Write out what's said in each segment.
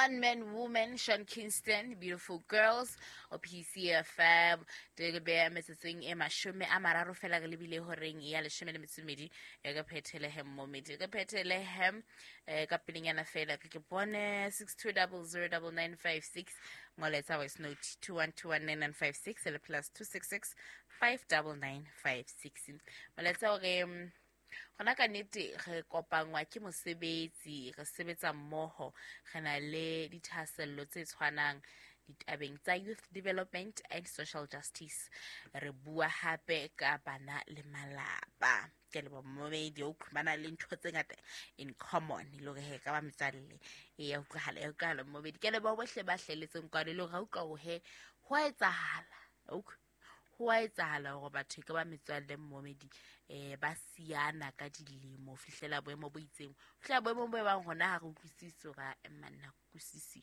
One Man Woman, Sean Kingston, Beautiful Girls, o PCFM, di re beya metsotsong e 30 fela re lebile horeng ya 12 e re phethelehe mmomedi, re phethelehe ka pelenyana fela ke bone 62009956 ngoletsa voice note 21219956 le plus 266 59956. Molaetsa o re gona ka nnete re kopangwa ke mosebetsi, re sebetsa mmoho, re na le dithahasello tse tshwanang ditabeng tsa youth development and social justice. Re bua hape ka bana le malapa. Ke leboha momedi, o ba na le ntho tse ngata in common e le hore he ka ba metswalle. E ya utlwahala, ya utlwahala momedi. Ke leboha bohle ba hlelletseng kwano, e le hore ha utlwa hore he ho a etsahala, ho a etsahala hore batho e ka ba metswalle mmomedi, ba siana ka dilemo ho fihlela boemo bo itseng, ho fihlela boemo bo bang hona ha re utlwisise hore a manna utlwisise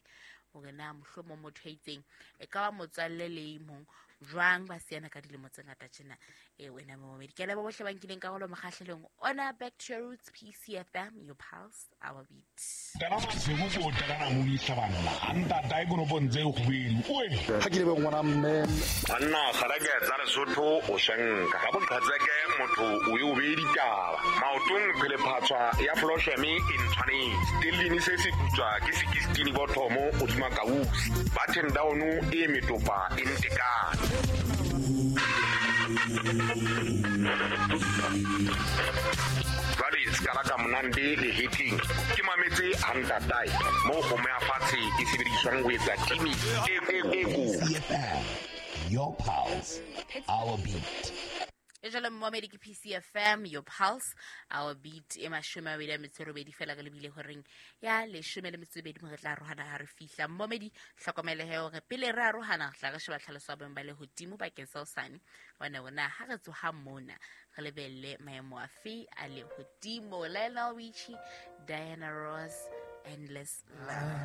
hore na mohlomong motho a itseng e ka ba motswalle le e mong jwang, ba siana ka dilemo tse ngata tjena. Wena momedi, ke leboha bohle ba nkileng karolo mokgahlelong ona. Back to your roots, PCFM, your pulse, our beat. Tala masego ko tala na mo ditlhabanna a ntata e konopong tse kgwedi oe ga ke lebe ngwana mme banna garake tsa Lesotho o shenka ka boqhatseke motho o e o beye ditaba maotong phelephatswa ya flosheme e ntshwanetse telline se se putswa ke sekistini bothomo godima kausi button down e metopa e ntekane jwale sekala ka monande le heating ke mametse a ntatae mo kgomo ya fatshe e sebediswang ho etsa timi e PCFM, your pulse, our beat. E jalo mmomedi ke PCFM, your pulse, our beat, e 28 fela re lebile horeng ya 12 mo re tla arohana ha re fihla. Mmomedi, hlokomelehe hore pele re arohana re tla re sheba tlhaloso ya boemo ba lehodimo bakeng sa hosane, hobane rona ha re tsoha mona re lebelle maemo afe a lehodimo. Lionel Richie, Diana Ross, Endless Love.